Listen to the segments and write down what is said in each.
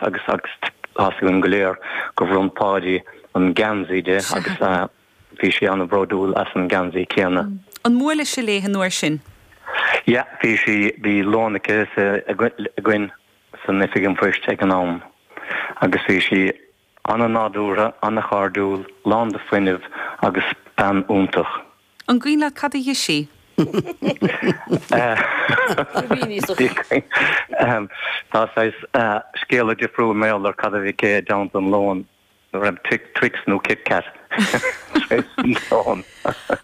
agus agus tá 'fhios againn go léir gur bhronn Páidí an geansaí di agus bhí sí an-bhródúil as an geansaí céanna. An mbuaileas-se léi an uair sin? Yeah, bhí sí, bhí lón aici againn san Oifig an Phoist ag an am agus bhí sí an-nádúrtha, an-chairdiúil, lán de fuinneamh agus bean iontach. An gcuimhin leat cad a d'ith sí? Tá saghas scéala difriúil mar gheall ar cad a bhí aici i dteannta an lóin, an raibh Twix nó Kit Kat tar éis an lóin.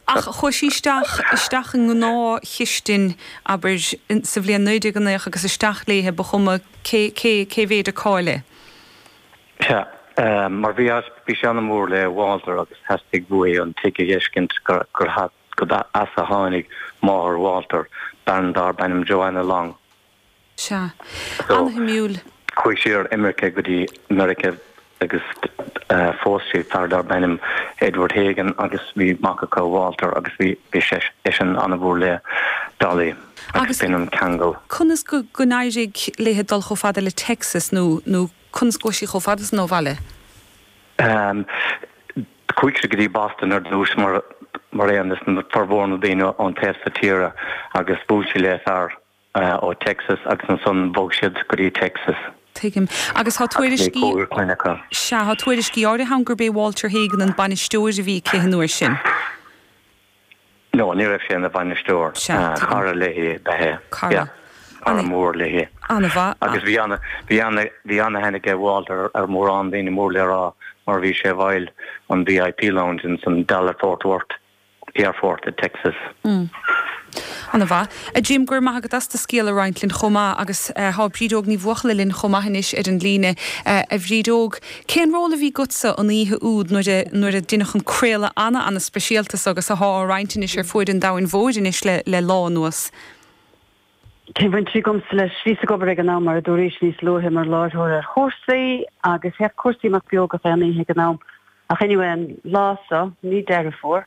Ach chuaigh sí isteach, isteach i ngnáthchistin, abair, sa bhliain 1909 agus isteach léithe, ba chuma cé, cé, cé mhéid a cáil é. Sea, mar bhí, bhí sí an-mhór le Walter agus theastaigh uaithi an tigh a dh'fheiscint gur, gur as a tháinig máthair Walter, bean darb ainm Joanna Long. Sea. Ana-shuimiúil. Chuaigh sí ar imirce go dtí Meiriceá agus phós sí fear darb ainm Edward Hagan agus bhí mac acu, Walter, agus bhí, bhí seisean an-mhór le Dolly agus b'in an ceangal. Conas go, go n-éirigh léithe dul chomh fada le Texas nó, nó Conas go raibh sí chomh fada san ó bhaile? Chuaigh sí go dtí Boston ar dtús mar mar aon leis na formhór na daoine ón taobh so tíre agus bhuail sí le fear ó Texas agus ansan bhog siad go dtí Texas. Tuigim. Agus tá tuairiscí. Bhí cúigear clainne acu. Sea, tá tuairiscí áirithe ann gurb é Walter Hagen an bainisteoir a bhí aici an uair sin. No, ní raibh sé ina bhainisteoir. Sea, tuigim. Cara léi ab ea é. Cara. Yeah. Cara mór léi. An-mhaith. Agus bhí ana, bhí ana, bhí ana-aithne aige Walter ar mhórán daoine mór le rá mar bhí sé i bhfeighil an VIP Lounge ins an Dallas Fort Worth Airport i Texas. Mm. An-mhaith. A Jim, go raibh maith agat as do scéal a roinnt linn chomh maith agus tá Bríd Óg Ní Bhuachalla linn chomh maith anois ar an líne. A Bhríd Óg, cén ról a bhí agatsa an oíche úd nuair a nuair a deineadh an craoladh ana-ana-speisialta so agus athá á roinnt anois ar fuaid an domhain mhóir anois le le lá anuas? Cén bhaint a bhí agamsa leis? Bhíos ag obair ag an am, mar a dúraís níos luaithe, mar láithreoir ar Chúrsaí agus théadh Cúrsaí amach beo gach aon oíche ag an am. Ach anyway, an lá so, mí Deireadh Fómhair,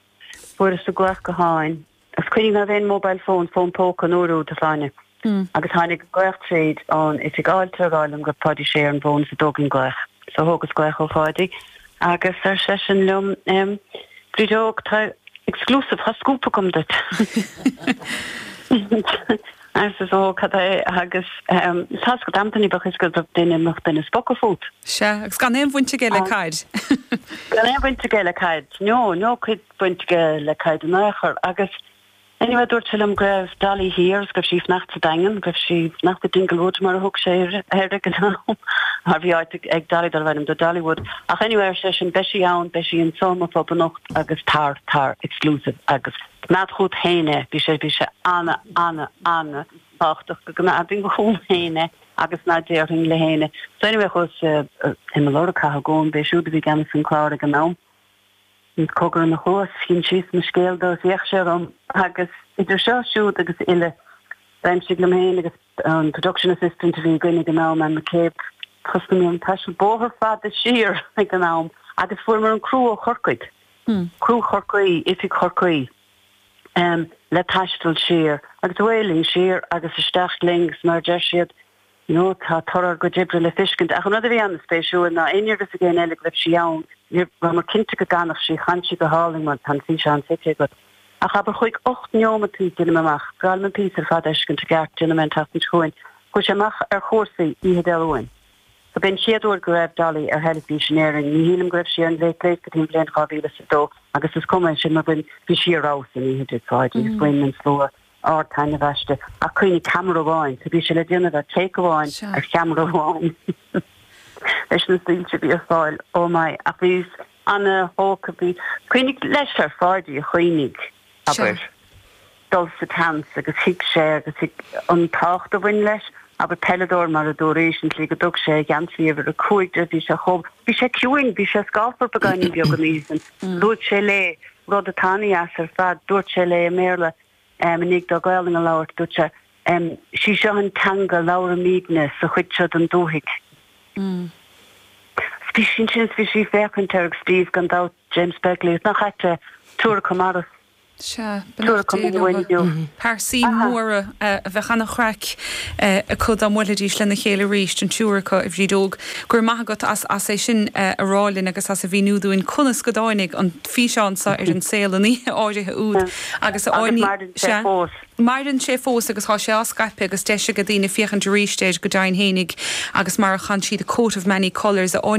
fuaireas an glaoch gutháin Agus cuimhnigh ná raibh aon mobile phone, fón póca an uair úd, a Shláine. Agus tháinig glaoch tríd ón oifig fháilte a rá liom go raibh Páidí Sé ar an bhfón is an dtógfainn glaoch. So thógas glaoch ó Pháidí agus ar seisean liom, em, Bríd Óg, tá exclusive, tá scúp agam duit. Arsa ó, cad é agus, em, tá's agat amantaí bheadh fhios agat go raibh duine, mbeadh duine ag spochadh fút. Sea, agus gan aon bhaint aige le caid. Gan aon bhaint aige le caid, no, no cuid. baint aige le caid in aon chor. Agus anyway dúirt sé liom go raibh Dolly thiar agus go raibh sí ag fanacht sa Daingean, go raibh sí ag fanacht i Dinglewood mar a thug sé air ag an am, mar bhí áit ag Dolly darbh ainm do Dollywood. Ach anyway ar seisean beidh sí ann, beidh sí anso i mo phub anocht agus tar, tar, exclusive agus coimeád chugat féin é, bhí sé, bhí sé ana, ana, ana thábhachtach go gcoimeádfainn chugam féin é agus ná déarfainn le héinne. So anyway chuas i mo lorg Cathal Goan, b'é siúd a bhí i gceannas an clár ag an am. Cogar ina chluas, d'insíos mo scéal dó is d'fhéach sé orm agus idir seo, siúd agus uile, d'aimsigh liom féin agus an production assistant a bhí againn ag an am, Anne McCabe, thosnaigh an taisteal bóthar fada siar ag an am agus fuaireamar an criú ó Chorcaigh, criú Chorcaí, oifig Chorcaí, le taisteal siar agus away linn siar agus isteach linn agus mar a deir siad, You know, tá toradh ár gcuid oibre le feiscint. Ach an rud a bhí an-spéisiúil ná ní raibh fhios ag éinne eile go raibh sí ann. Ní rabhamar cinnte go gcanfadh sí, chan sí go hálainn mar tá an físeán feicthe agat. Ach abair chuaigh 8 neomataí, déanaim amach, b'fhearr liom an píosa ar fad a fheiscint i gceart, déanfaidh mé an tseachtain seo chugainn. Chuaigh sé amach ar Chúrsaí oíche Dé Luain. So b'é an chéad uair go raibh Dolly ar theilifís in Éirinn. Ní shílim go raibh sí ar an Late Late go dtí an bhliain 2002 agus is cuma é sin mar bhain, bhí sí ar fheabhas an oíche a Pháidí agus bhain an slua. ard-taitneamh aisti. Ach cuimhnigh, ceamara amháin, so bhí sé le déanamh ar take amháin, ar cheamara amháin leis na soilse a bhí ar fáil. Oh my, ach bhíos ana-thógtha, bhí, cuimhnigh leis ar Pháidí a choinnigh, abair, dul sa tseans agus thuig sé agus thuig an tábhacht a bhain leis, abair, peileadóir mar a dúraís, an tslí go dtug sé a gheansaí uimhir 5 de, bhí sé chomh, bhí sé ciúin, bhí sé scáfar beagáinín beag an oíche sin. Luaigh sé léi rud atá ana-dheas ar fad, dúirt sé léi i mBéarla, i ndiaidh dó Gaolainn a labhairt, dúirt sé, 'Sí seo an teanga a labhraímidne sa chuid seo den dúthaigh. 'S bhí sí ansin is bhí sí ag féachaint air agus Steve, gan dabht, James Begley, nach ait é, triúr acu marbh. Sea, beannacht Dé leo. Pearsaí móra a bheadh an-chraic acu dá mbuailfidís lena chéile arís, an triúr acu, a Bhríd Óg. Go raibh maith agat as as é sin a rá linn agus as a mhíniú dúinn conas go dtáinig an físeán seo ar an saol an oíche áirithe úd agus a Agus maireann sé fós. Maireann sé fós agus tá sé á scaipeadh agus deis ag daoine féachaint arís air go deimhin fhéinig agus mar a chan siad A Coat of Many Colours a.